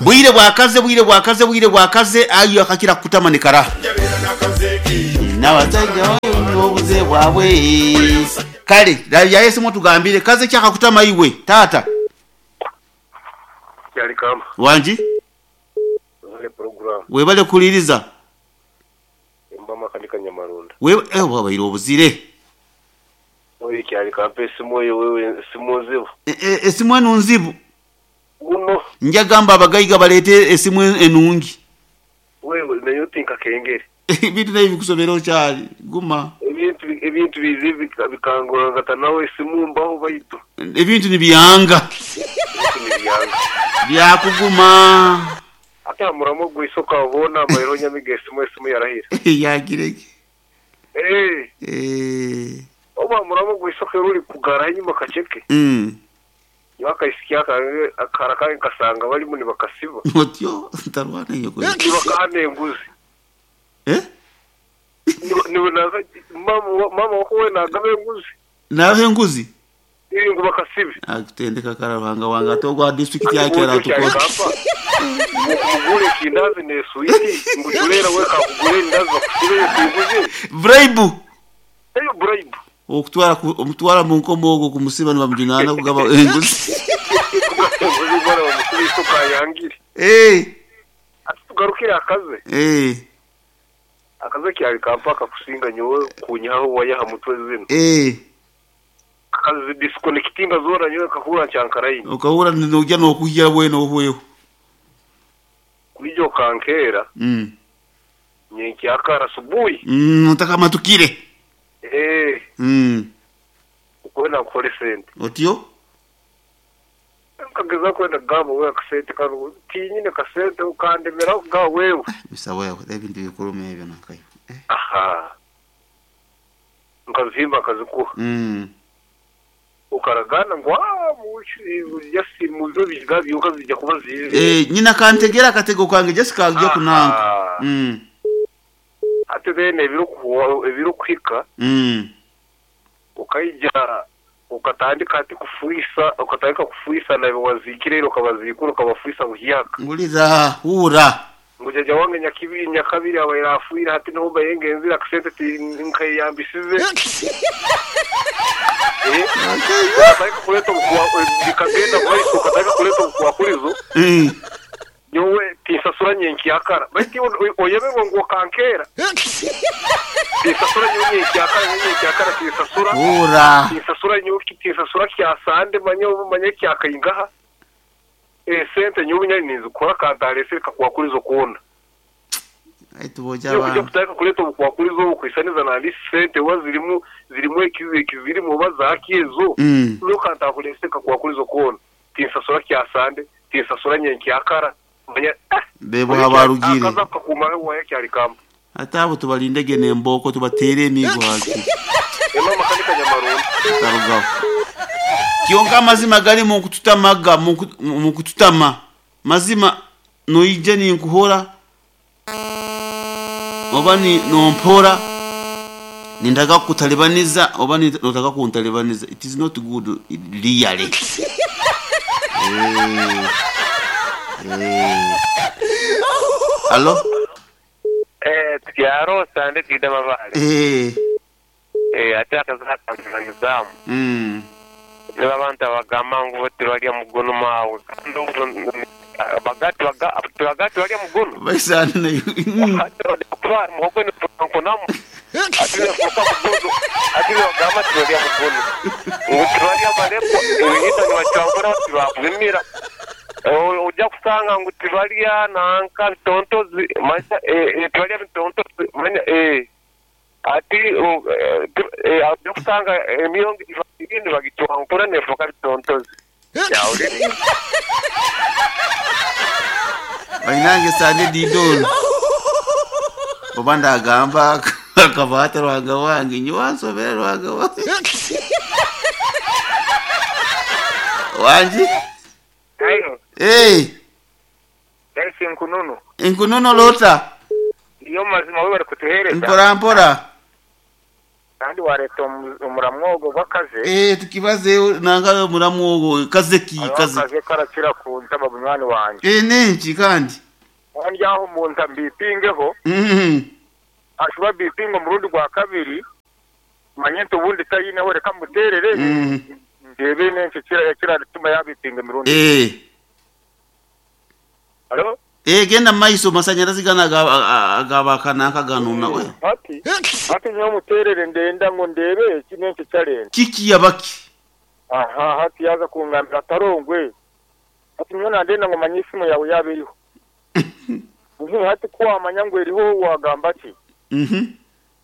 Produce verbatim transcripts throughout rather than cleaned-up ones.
Bwire bwakaze, bwire bwakaze, bwire bwakaze, ayo akakira kutama ni karaha. N'abasajja obuze bwabwe. Kale, ya Yesu mutugambire kaze kyakakutama iwe tata. Kyali kamba. Wanji? Wale program. Webale kuliriza. Mbama kanika Nyamarunda. Wewe eh wabaire obuzire. Oyi kyali kampa esimu oyo wewe esimu nzibu. E, e, esimu enu nzibu. Guno. Njagamba abagayiga baleete esimu enungi. Wewe nayo tinka kengere. Ebintu nayo bikusomera okyali guma. Ebintu ebintu bizibu bikangora ngata nawe esimu mbaho baitu. Ebintu nibyanga. Ebintu nibyanga. Byakuguma. Ate amuramo gwisoka abona amayiro nyamiga esimu esimu yarahira. Yagireke. Eh. Eh. Oba muramo gwisoka ruri kugara inyuma kaceke. Mm. Yakaisikia akara kange kasanga bali muni bakasiba. Otyo ntarwana iyo kwe. Nibakahane enguzi. Eh? Niwe naza mama mama wako we nagabe enguzi. Nawe enguzi? Iri ngo bakasibe. Akutendeka karabanga wanga togwa district yakera tuko. Mugure kindazi ne suiti ngujulera we kakugure indazi bakusibe enguzi. Bribe. Eyo bribe. Okutwara omutwara mu nkomo ogwo kumusiba nibamujunana kugaba enguzi. Enguzi bwana bamusibe isoka yangire. Eh. Atugarukira akaze. Eh. Akaze kyali kampaka kusinga nyowe kunyaho wayaha mutwe zino. Eh. Akaze disconnectinga zora nyowe kahura cyankarayi. Okahura nojya nokuhya bwene ohweho. Kulijo kankera. Mm. Nyenki akara subuhi. Mm, utaka matukire. Eh. Mm. Ukwenda kukora sente. Otyo? Kageza kwenda gabo we akasente kano tinyine kasente ukandemera ga wewe. Bisaba yawe ebintu bikurume ebyo nakayo. Eh. Aha. Nkazimba kazikuha. Mm. Ukaragana ngo ah yasi muzo bigabi ukazijya kuba zizi. Eh, nyina kantegera katego kwange Jessica ajya kunanga. Mm. Ate bene ebirukuwa ebirukwika. Mm. Ukayija ukatandika ati kufuisa ukatandika kufuisa na wazikire ukabazikura ukabafuisa buhiyaka. Nguliza hura. Ngujaja wange nyakibiri nyakabiri abaira afuira hati no bayengenzira akasente ti nkayambisize. Eh. Ukatandika kuleta bikagenda bwaiso ukatandika kuleta bukwakurizo. Mm. Nyowe tinsasura nyenki yakara. Baiti oyeberwa ngo kankera. Tinsasura nyowe nyenki yakara nyenki yakara tinsasura. Hura. Tinsasura nyowe tinsasura kyasande manyo manye kyakayingaha. Eh sente nyowe nyari nizukora kantarese kakwakurizo kuona. Aitu boja ba. Yo kutaka kuleta bukwakurizo kwisaniza na ndi sente wazirimu zirimu ekizi kizirimu bazakiezo. Mm. Nyo kantakulese kakwakurizo kuona. Tinsasura kyasande tinsasura nyenki yakara. Bebo habarugire akaza kakuma wa kyali kamba atabo tubalindege nemboko tubatere emigo haki ema makanika Nyamarunda tarugaho kyonka amazima gari mu kututamaga mu kututama mazima noije ni nkuhora oba ni nompora nindaga kutalibaniza oba ni notaka kuntalibaniza. It is not good really. Eh. Eh. Allo? Eh, tiaro sande tidama vale. Eh. Eh, ataka zaka ngizamu. Mm. Niba abantu abagamba ngo tibalya mugono mawe. Kandi bagati bagati balya mugono. Baisana nayo. Kwa muhogo ni nkonamu. Atile fuka mugono. Atile bagamba tibalya mugono. Ngo tibalya baleko ibihita ni bacangura tibabwimira. Ujya kusanga ngo tibalya nanka bitontozi manya eh tibalya bitontozi manya eh ati eh ujya kusanga emiyongo ibindi bagitwankura nefuka bitontozi yawe Bainange sande didon oba ndagamba akabata rwanga wange nyiwansobera rwanga wange wanji. Ayo. Eh. Daisi nkununu. Nkununu lota. Iyo mazima wewe kutuhereza. Mpora mpora. Kandi wareta omuramwogo gw'akaze. Eh tukibaze nanga muramwogo kaze ki kaze. Akaze karakira kuntama bunywani wange. Eh nenki kandi. Kandi aho umuntu ambipingeho. Mhm. Ashuba bipingo murundi gwa kabiri. Manyento ubundi tayineho reka muterere. Mm. Ndebe nenki kira kira tuma yabipinga mirundi. Eh. Halo? Eh genda maiso masanyarazi gana agabakana kaganuna we. Ati ati nyo muterere ndenda ngo ndebe kinenki challenge. Kiki yabaki. Aha hati yaza kungambira atarongwe. Ati nyo ndenda ngo manyisimu yawe yabiriho. Nki hati kwamanya ngo eriho wagamba ati. Mhm.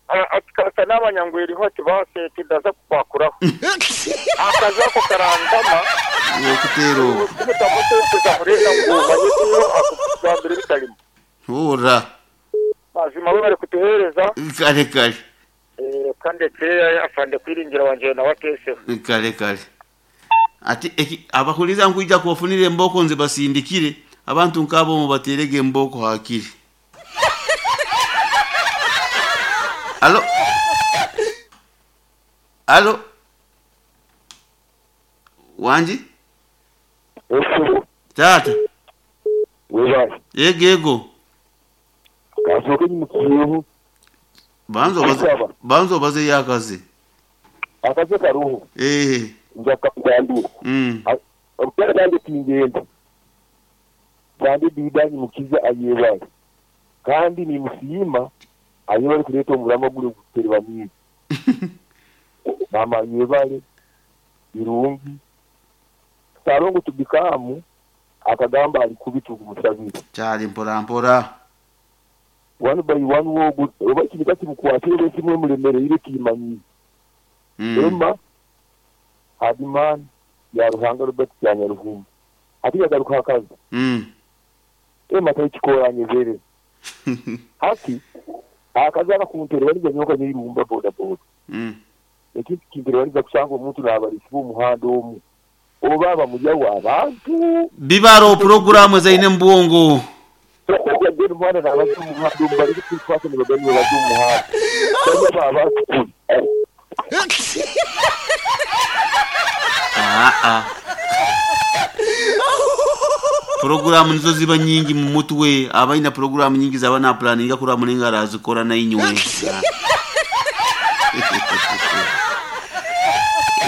Ati kasa n'abanyangwe eriho ati base tidaza kukwakuraho. Akaza ko karandama. Okutero. Kutamutekereza murenda ngo manyisimu akugambira bitarimo. Ora. Mazima we bari kutuhereza. Kare kare. Eh kandi ndetse afande kwiringira wanje na watese. Kare kare. Ati abakuliza nkuija kubafunira emboko nze basindikire abantu nkabo mu baterege emboko hakiri. Alo. Alo. Wanji? Tata. Wewe. Yego yego. Kasoke ni mukiyeho. Banzo baze banzo baze yakaze. Akaze karuhu. Eh. Njaka kugambira. Mm. Obutara bande tingenda. Kandi bidani mukiza ayebaye. Kandi ni musima ayebale kuleta omulama gule guterwa mwiza. Mama ayebale irungi. Sarongo tubikamu akagamba ali kubitu kumusabira. Cyari mpora mpora. One by one wogo oba kinika kimukwatire kimwe mulemere ile kimanyi. Mm. Emma Hadiman ya Ruhanga Robert Kyanyaruhumba. Ati yagaruka akazi. Mm. Emma tayikikoranye zere. Hati akaza akakuntera bari nyoka nyirumba boda boda. Mm. Ekindi kintu bari kusanga omuntu nabalisi b'omuhanda omu. Obaba mujya abantu. Bibaro programu zaine mbwongo. Bagenda mwana nabazi omuhanda omu bari kwifata nibagani bazi omuhanda. Bajya baba Ah ah. Programu nizo ziba nyingi mu mutwe abaina programu nyingi zaba na planninga kura muninga razikora na inywe.